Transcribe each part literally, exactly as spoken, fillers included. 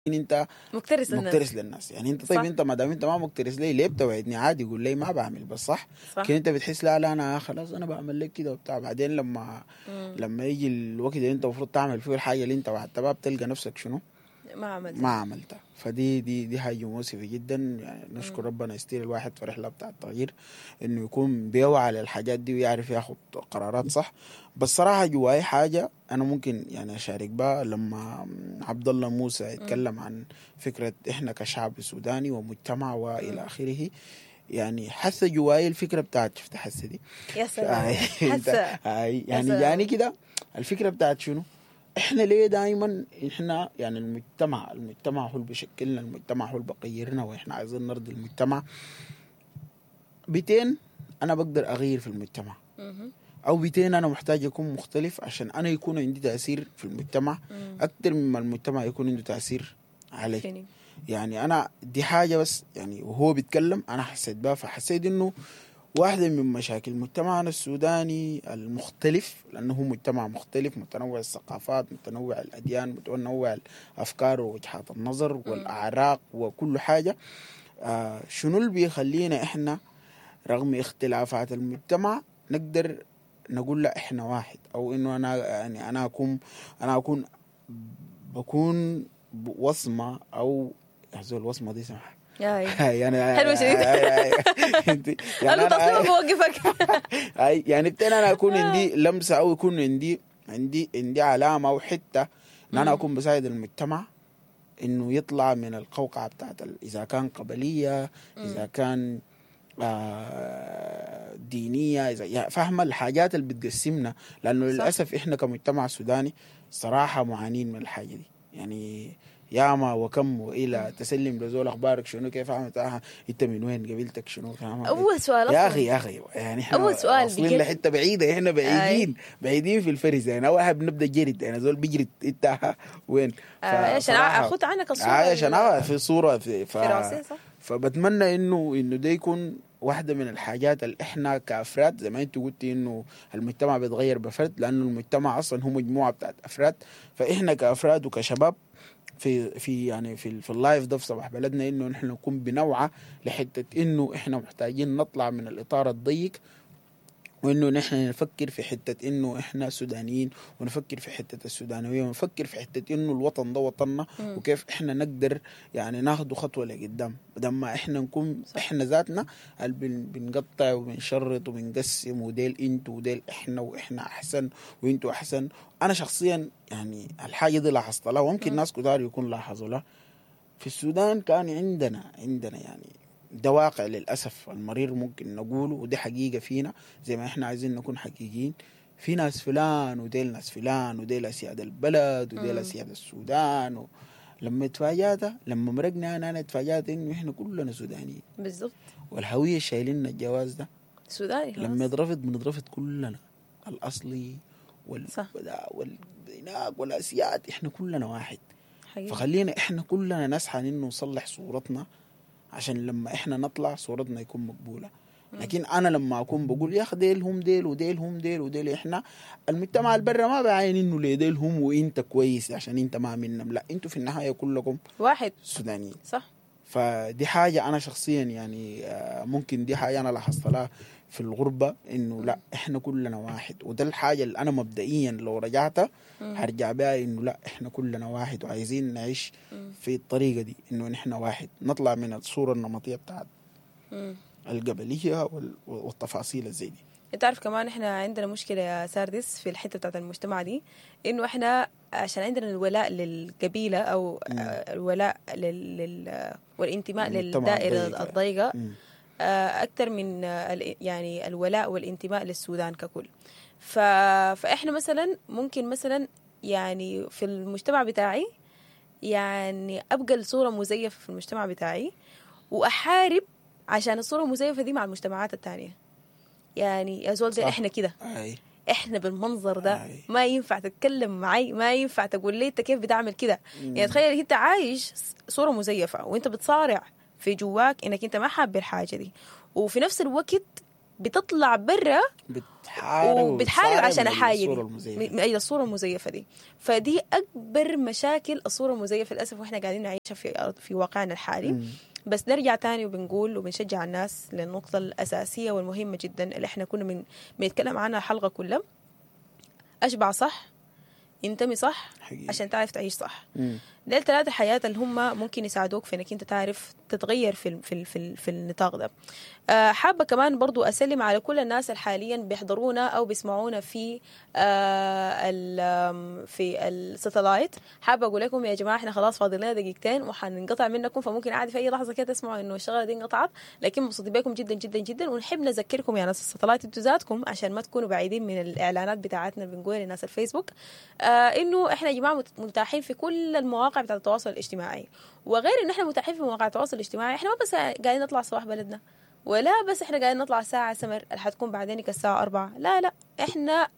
انت مكترث للناس. مكترث للناس. يعني انت طيب صح. انت ما دام انت ما مكترث لي ليه بتوعدني؟ عادي قول لي ما بعمل بس صح. صح. لكن انت بتحس لا لا انا خلاص انا بعمل لك كده وبتاع. بعدين لما مم. لما يجي الوقت اللي انت المفروض تعمل فيه الحاجة اللي انت وعدتها بها بتلقى نفسك شنو؟ ما عملت. ما عملتها. فدي دي دي حاجة مؤسفة جدا. يعني نشكر ربنا يستير الواحد في رحله بتاع التغيير انه يكون بيوعى للحاجات دي ويعرف ياخد قرارات صح. بس صراحة جواي حاجة انا ممكن يعني اشارك بها لما عبد الله موسى يتكلم عن فكرة احنا كشعب سوداني ومجتمع والى اخره. يعني حس جواي الفكرة بتاعت شفت حس دي يا سلام. أنت- حس يعني سلام. يعني كده الفكرة بتاعت شنو؟ احنا ليه دائما احنا يعني المجتمع المجتمع هو اللي بيشكلنا، المجتمع هو اللي بيغيرنا، واحنا عايزين نرضي المجتمع. بيتين انا بقدر اغير في المجتمع، مهم. او بيتين انا محتاج اكون مختلف عشان انا يكون عندي تاثير في المجتمع مم. اكثر مما المجتمع يكون عنده تاثير علي. فيني. يعني انا دي حاجة بس يعني وهو بيتكلم انا حسيت بها، فحسيت انه واحدة من مشاكل مجتمعنا السوداني المختلف، لأنه هو مجتمع مختلف متنوع الثقافات، متنوع الأديان، متنوع الأفكار ووجهات النظر والأعراق وكل حاجة. آه شنو اللي بيخلينا إحنا رغم اختلافات المجتمع نقدر نقول لا إحنا واحد، أو إنه أنا يعني أنا أكون أنا أكون بكون وصمة أو يا الوصمة دي سمح يا يعني حلوة شديد. انت يعني انا انا تصميم بوقفك. أي يعني بتين انا اكون عندي لمسه او يكون عندي عندي عندي علامة او حتة ان انا اكون بساعد المجتمع انه يطلع من القوقعة بتاعت ال- اذا كان قبليه، اذا كان آه دينية، اذا يعني فاهمه الحاجات اللي بتقسمنا، لانه صح. للاسف احنا كمجتمع سوداني صراحة معانين من الحاجة دي. يعني ياما وكم والى تسلم لزول اخبارك شنو كيف عملت آه انت من وين قبيلتك شنو فاهمة؟ اول سؤال يا اصلا اخي يا اخي يعني احنا أول سؤال واصلين بجد. لحته بعيدة، احنا بعيدين بعيدين في الفرز. يعني اول حاجة بنبدا جرد، يعني زول بيجرد انت وين. آه، عشان فصراحة- اخذ عنك الصورة آه، عشان ال- آه، في صوره في ف... في راسي صح. فبتمنى انه انه ده يكون واحدة من الحاجات اللي احنا كافراد زي ما انت قلتي انه المجتمع بيتغير بفرد، لانه المجتمع اصلا هو مجموعة بتاعت افراد. فاحنا كافراد وكشباب في في يعني في في ال live ده في صباح بلدنا انه نحن نكون بنوعى لحته انه احنا محتاجين نطلع من الاطار الضيق، وانه نحن نفكر في حتة انه احنا سودانيين، ونفكر في حتة السودانويه، ونفكر في حتة انه الوطن ده وطننا، مم. وكيف احنا نقدر يعني ناخده خطوة لقدام بدل ما احنا نكون صح. احنا ذاتنا اللي بن- بنقطع وبنشرط وبنقسم وديل انتوا وديل احنا واحنا احسن وانتوا احسن. انا شخصيا يعني الحاجة دي لاحظت لها، وممكن مم. ناس كتار يكون لاحظوا لها. في السودان كان عندنا عندنا يعني ده واقع للأسف المرير ممكن نقوله، ودي حقيقة فينا زي ما احنا عايزين نكون حقيقيين. في ناس فلان وديل ناس فلان وديل أسياد البلد وديل مم. أسياد السودان و... لما اتفاجأت لما مرقنا أنا أنا اتفاجأت إنه إحنا كلنا سودانيين، بالضبط والهوية شايلين الجواز ده سوداني لما خلاص. يترفض بنترفض كلنا، الأصلي وال صح. وال هناك والأسياد، إحنا كلنا واحد. حقيقي. فخلينا احنا كلنا نسعى انه نصلح صورتنا عشان لما احنا نطلع صورتنا يكون مقبولة. لكن انا لما اكون بقول يا اخي ديل هم ديل وديل هم ديل وديل، احنا المجتمع البرة ما بعاين انه ليه ديل هم وانت كويس عشان انت ما منهم، لا انتوا في النهاية كلكم واحد سودانيين. صح. فدي حاجة انا شخصيا يعني آه، ممكن دي حاجة انا لاحظت لها في الغربة انه لا احنا كلنا واحد، وده الحاجة اللي انا مبدئيا لو رجعت مم. هرجع بها انه لا احنا كلنا واحد، وعايزين نعيش مم. في الطريقة دي انه نحن واحد، نطلع من الصورة النمطية بتاعت مم. القبلية وال- والتفاصيل زي دي. انت عارف كمان احنا عندنا مشكلة يا ساردس في الحتة بتاعت المجتمع دي، انه احنا عشان عندنا الولاء للقبيلة او مم. آه، الولاء لل... لل... والانتماء المجتمع للدائره الضيق. الضيقه مم. آه، اكثر من آه، ال- يعني الولاء والانتماء للسودان ككل. ف... فاحنا مثلا ممكن مثلا يعني في المجتمع بتاعي يعني ابقى الصورة مزيفة في المجتمع بتاعي، واحارب عشان الصورة المزيفه دي مع المجتمعات التانية. يعني يا زول ده صح. احنا كده، اي احنا بالمنظر ده أي. ما ينفع تتكلم معي، ما ينفع تقول لي انت كيف بتعمل كده. يعني تخيل انت عايش صورة مزيفة وانت بتصارع في جواك انك انت ما حابب الحاجة دي، وفي نفس الوقت بتطلع برا بتحارب وبتحارب عشان من الحاجة دي الصورة المزيفه من اجل الصورة المزيفه دي. فدي اكبر مشاكل الصورة المزيفه للاسف، واحنا قاعدين نعيشها في في واقعنا الحالي. مم. بس نرجع تاني وبنقول وبنشجع الناس للنقطة الأساسية والمهمة جدا اللي احنا كنا من بنتكلم عنها الحلقة كلها. أشبع صح، انتمي صح، حقيقي. عشان تعرف تعيش صح. مم. ديل ثلاثة حياة اللي هم ممكن يساعدوك في انك انت تعرف تتغير في ال في ال في, ال في النطاق ده. آه، حابة كمان برضو اسلم على كل الناس اللي حاليا بيحضرونا او بيسمعونا في آه ال- آم، في ال satellite. حابة اقول لكم يا جماعة احنا خلاص فاضل لنا دقيقتين وحننقطع منكم، فممكن عادي في اي لحظة كده تسمعوا انه الشغلة دي انقطعت، لكن مبسوطين بكم جدا جدا جدا. ونحب نذكركم يا ناس ال satellite انتوا ذاتكم عشان ما تكونوا بعيدين من الاعلانات بتاعتنا اللي بنقولها لناس الفيسبوك، آه انه احنا يا جماعة مت- متاحين في كل المواقع بتاعت التواصل الاجتماعي. وغير انه احنا متاحين في مواقع التواصل الاجتماعي، احنا ما بس قاعدين نطلع صباح بلدنا، ولا بس احنا قاعدين نطلع ساعة سمر اللي حتكون بعدين الساعة أربعة، لا لا، احنا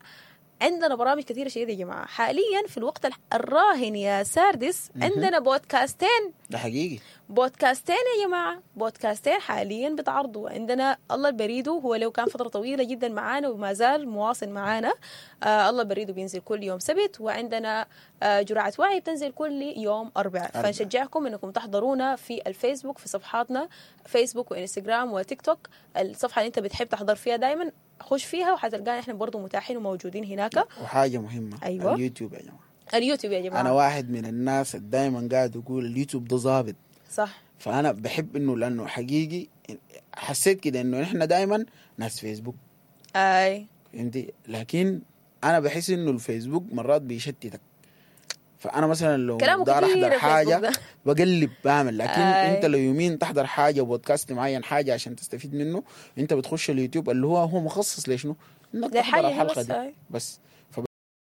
عندنا برامج كثيرة شديدة يا جماعة. حاليا في الوقت الراهن يا ساردس عندنا بودكاستين، ده حقيقي، بودكاستين يا جماعة، بودكاستين حاليا بتعرضوا. عندنا الله البريدو، هو لو كان فترة طويلة جدا معانا وما زال مواصل معانا، آه الله البريدو بينزل كل يوم سبت، وعندنا آه جرعة وعي بتنزل كل يوم أربعاء. فنشجعكم انكم تحضرونا في الفيسبوك، في صفحاتنا فيسبوك وانستغرام وتيك توك، الصفحة اللي انت بتحب تحضر فيها دايما خش فيها وحتلقانا احنا برضو متاحين وموجودين هناك. وحاجة مهمة، أيوة. اليوتيوب يا جماعة، اليوتيوب يا جماعة، أنا واحد من الناس دايما قاعد أقول اليوتيوب ده ظابط، صح. فأنا بحب إنه لأنه حقيقي حسيت كده إنه إحنا دايما ناس فيسبوك، أي فهمتي؟ لكن أنا بحس إنه الفيسبوك مرات بيشتتك، فأنا مثلا لو كلامه دار كتير أحضر حاجة الفيسبوك ده. بقلب بعمل، لكن آي. انت لو يومين تحضر حاجة بودكاست معين حاجة عشان تستفيد منه، انت بتخش اليوتيوب اللي هو هو مخصص لشنو؟ انك تحضر للحاجة دي الحلقة بس، دي آي. بس.